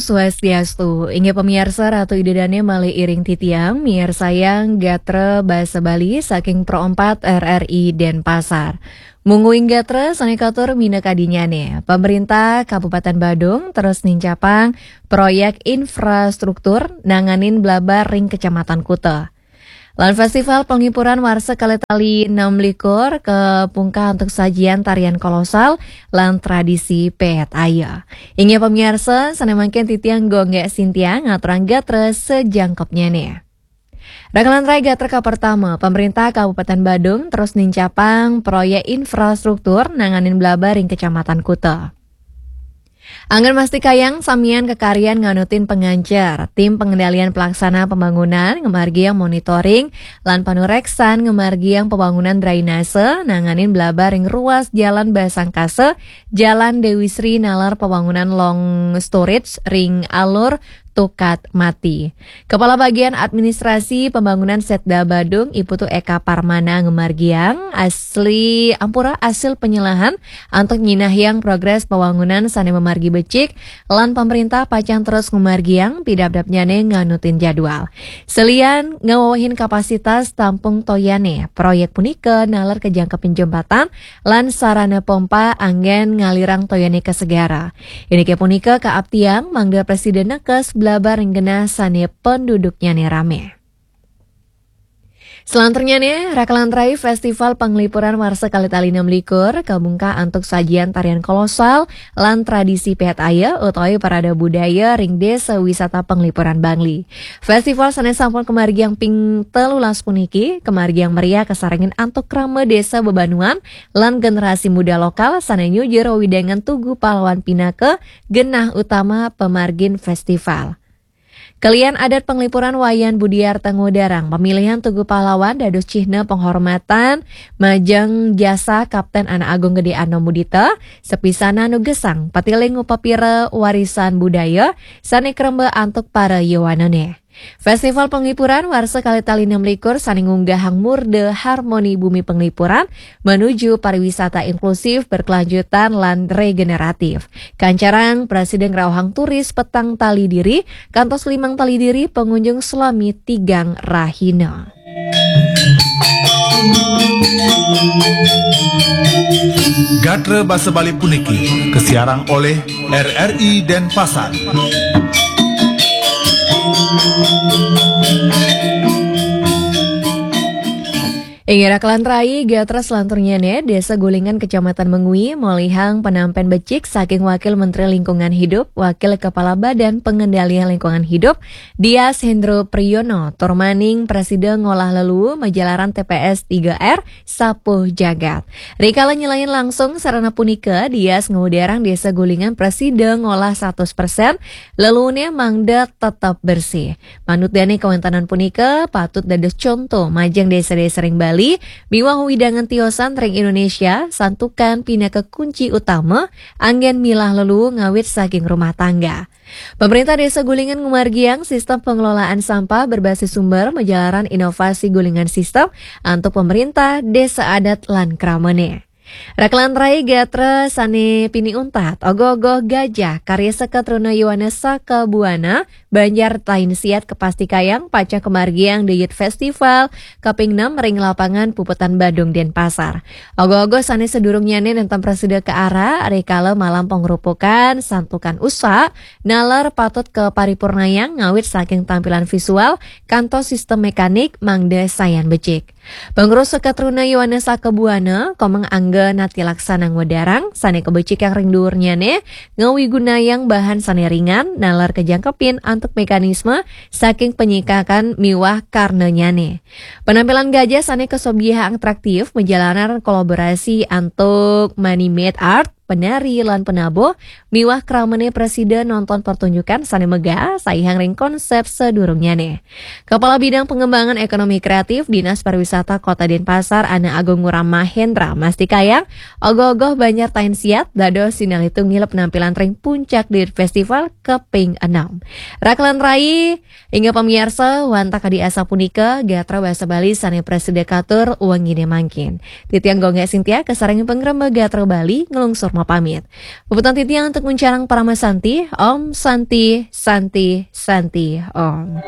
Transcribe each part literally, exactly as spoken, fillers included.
Swastiastu, inggih pamiarsa Ratu Ida Dane malih iring titiang, miarsayang gatra basa Bali saking Pro empat R R I Denpasar. Mungguing gatra sane katur minakadinyane, pemerintah Kabupaten Badung terus nincapang proyek infrastruktur nanganin blabar ring Kecamatan Kuta. Lan festival penghiburan warsa kalih tali enam likur kapungkah antuk sajian tarian kolosal lan tradisi pehet aya. Inggih pamiarsa, sane mangkin titiang Gonggek Sintia ngaturang gatra sejangkepnyane. Rakalan rai gatra kapertama, pemerintah Kabupaten Badung terus nincapang proyek infrastruktur nanganin blabar ring Kecamatan Kuta. Anggen mastikayang samian kakaryan nganutin pangancer. Tim pengendalian pelaksana pembangunan ngamargiang monitoring lan panureksan ngamargiang pembangunan drainase nanganin blabar ring ruas Jalan Basangkasa, Jalan Dewi Sri naler pembangunan long storage ring alur Tukat Mati. Kepala Bagian Administrasi Pembangunan Setda Badung, Iputu Eka Parmana ngamargiang, asli ampura asil penyelahan antuk nyinahyang progres pembangunan sane mamargi becik, lan pemerintah pacang terus ngamargiang pidabdabnyane nganutin jadwal. Selian ngawawahin kapasitas tampung toyane, proyek punika naler kajangkepin jembatan lan sarana pompa anggen ngalirang toyane ka segara. Inike punika kaaptiang mangda presiden nekes blabar ring genah sane penduduknyane rame. Selanturnyane, rakalan rai Festival Penglipuran Warsa Kalih Tali enam likur kabungkah antuk sajian tarian kolosal lan tradisi pehet aya utawi parade budaya ring Desa Wisata Penglipuran Bangli. Festival sane sampun kamargiang ping telulas puniki, kamargiang meriah kasarengin antuk krama desa bebanuan lan generasi muda lokal sane nyujur wewidangan Tugu Pahlawan pinaka genah utama pamargin festival. Kalian adat penglipuran Wayan Budiarta ngudarang pemilihan Tugu Pahlawan dados cihna penghormatan majeng jasa Kapten Anak Agung Gede Ano Mudita, sepisanan nugesang patiling upapira warisan budaya sane kremba antuk para yowanane. Festival Penglipuran Warsa Kalih Tali enam likur sane ngunggahang murda harmoni bumi penglipuran menuju pariwisata inklusif, berkelanjutan, lan regeneratif. Kancarang presiden ngrauhang turis petang tali diri kantos limang tali diri pengunjung selami tigang rahina. Gatra basa Bali puniki kasiarang oleh R R I Denpasar. Inggih rakalan rai, gatra selanturnyane, Desa Gulingan, Kecamatan Mengwi, molihang penampen becik saking Wakil Menteri Lingkungan Hidup, Wakil Kepala Badan Pengendalian Lingkungan Hidup, Dias Hendro Priyono, tur maning prasida ngolah leluu majalaran T P S tiga R Sapuh Jagat. Rikala nyelain langsung sarana punika, Dias ngudarang Desa Gulingan prasida ngolah seratus persen leluune mangda tetep bersih. Manut dane kawentanan punika patut dados conto majeng desa-desa ring Bali miwah wewidangan tiosan ring Indonesia, santukan pinaka kunci utama anggen milah leluu ngawit saking rumah tangga. Pemerintah Desa Gulingan ngumargiang sistem pengelolaan sampah berbasis sumber majalaran inovasi Gulingan System antuk pemerintah, desa adat, lan kramane. Rakalan rai gatra sane pini untat, ogoh-ogoh gajah karya seka truna Yohanes Saka Buana, Banjar Tainsiat kapastikayang pacang kamargiang dayut festival kaping enam ring lapangan Puputan Badung, Denpasar. Ogoh-ogoh sane sadurungnyane nenten prasida kaara rikala malam pangrupukan santukan usa, naler patut kaparipurnayang ngawit saking tampilan visual kantos sistem mekanik mangda sayan becik. Pengurus Seka Truna Yohanes Saka Buana, Komang Angga Nati Laksana ngudarang, sane kabecikang ring duurnyane ngawigunayang bahan sane ringan, naler kajangkepin antuk mekanisme saking penyikakan miwah karnanyane. Penampilan gajah sane kasobyahang atraktif majalaran kolaborasi antuk money made art, penari lan penabuh, miwah kramane prasida nonton pertunjukan sane megah saihang ring konsep sadurungnyane. Kepala Bidang Pengembangan Ekonomi Kreatif Dinas Pariwisata Kota Denpasar, Ana Agung Ngurah Mahendra, mastikayang, ogoh-ogoh Banjar Tainsiat dados sinalih tunggil penampilan ring puncak dayut festival kaping enam. Rakalan rai, inggih pamiarsa, wantah kadi asapunika, gatra basa Bali sane prasida katur wengine mangkin. Titiang Gonggek Sintia, kasarengin pangrembag Gatra Bali, nglungsur Pamit. Puputang titiang untuk nguncarang parama santi. Om Santi, Santi, Santi, Om.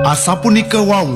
Asapunika wau